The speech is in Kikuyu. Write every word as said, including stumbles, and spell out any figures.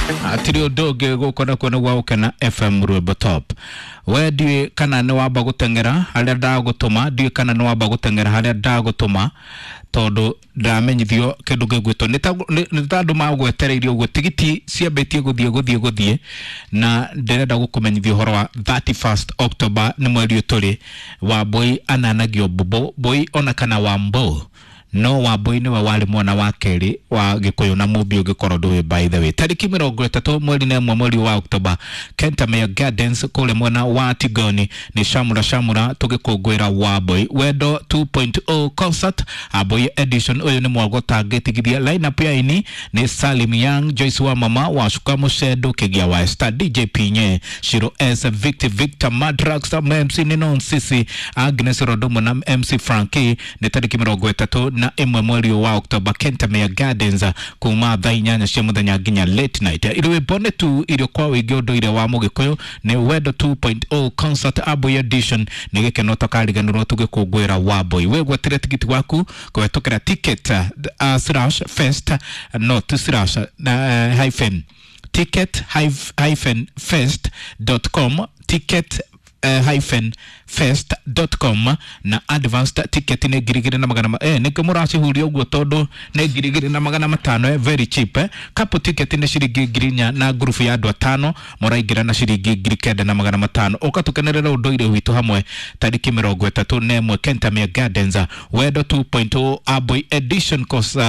Atiri undu ungi guku nakuo nĩguo Gũkena F M, Rwĩmbo Top. We ndiũĩ kana nĩ wamba gũteng'era harĩa ndagũtũma, ndiũĩ kana nĩ wamba gũteng'era harĩa ndagũtũma, tondũ ndamenyithio kĩndũ gĩgwĩtwo nĩ ta nĩ ta andũ magwetereirie ũguo. Tigiti ciambĩtie gũthiĩ gũthiĩ gũthiĩ, na ndĩrenda gũkũmenyithia ũhoro wa thirty-first October, nĩ mweri ũyũ tũrĩ. Wambui ananagio mbũmbũ mbũi ona kana Wambo, no Wambui nĩwe warĩ mwana wa kerĩ wa Gĩkũyũ na Mũmbi, ũngĩkorwo ndũĩ. By the way, tarĩki mĩrongo ĩtatũ mweri na ĩmwe mweri wa Oktoba, Kentamere Gardens kũrĩa mwena wa Tigoni, nĩ shamura shamura tũgĩkũngũĩra Wambui Wendo two point oh concert Ambui edition. Ũyũ nĩ mwago tangĩtigithia. Lineup ya ini nĩ Salim Young, Joyce wa Mama Wacuka, Mũcendo Kĩgia wa Esther, D J Pinye, Shiro S Victor, Victor Madrax, M C nĩ Nonsisi, Agnes Rodomo na M C Frankie. Nĩ tarĩki mĩrongo ĩtatũ na ĩmwe mweri wa Oktoba, Kentamere Gardens, kuma thaa inyanya cia mũthenya nginya late night. Rwĩmbo nĩ tu irio kwa ũingĩ, ũndũire wa Mũgĩkũyũ. Nĩ Wendo two point oh concert Ambui edition, nĩ gĩkeno tũkariganĩrwo tũgĩkũngũĩra Wambui. Wĩgwatĩre tigiti waku kũhetũkĩra ticket uh, slash fest not slash uh, hyphen ticket hyphen fest dot com, ticket uh, hyphen fest dot com, na advanced ticket nĩ ngiri igĩrĩ na magana ma- eh nĩkĩo mũracihuria ũguo, tondũ nĩ ngiri igĩrĩ na magana matano, eh, very cheap, eh. Couple ticket nĩ ciringi ngiri inya, na ngurubu ya andũ atano mũraingĩra na ciringi ngiri kenda na magana matano. Ũka tũkenerere ũndũire witũ hamwe tarĩki mĩrongo ĩtatũ na ĩmwe, Kentamere Gardens, Wendo two point oh Ambui edition cause, uh,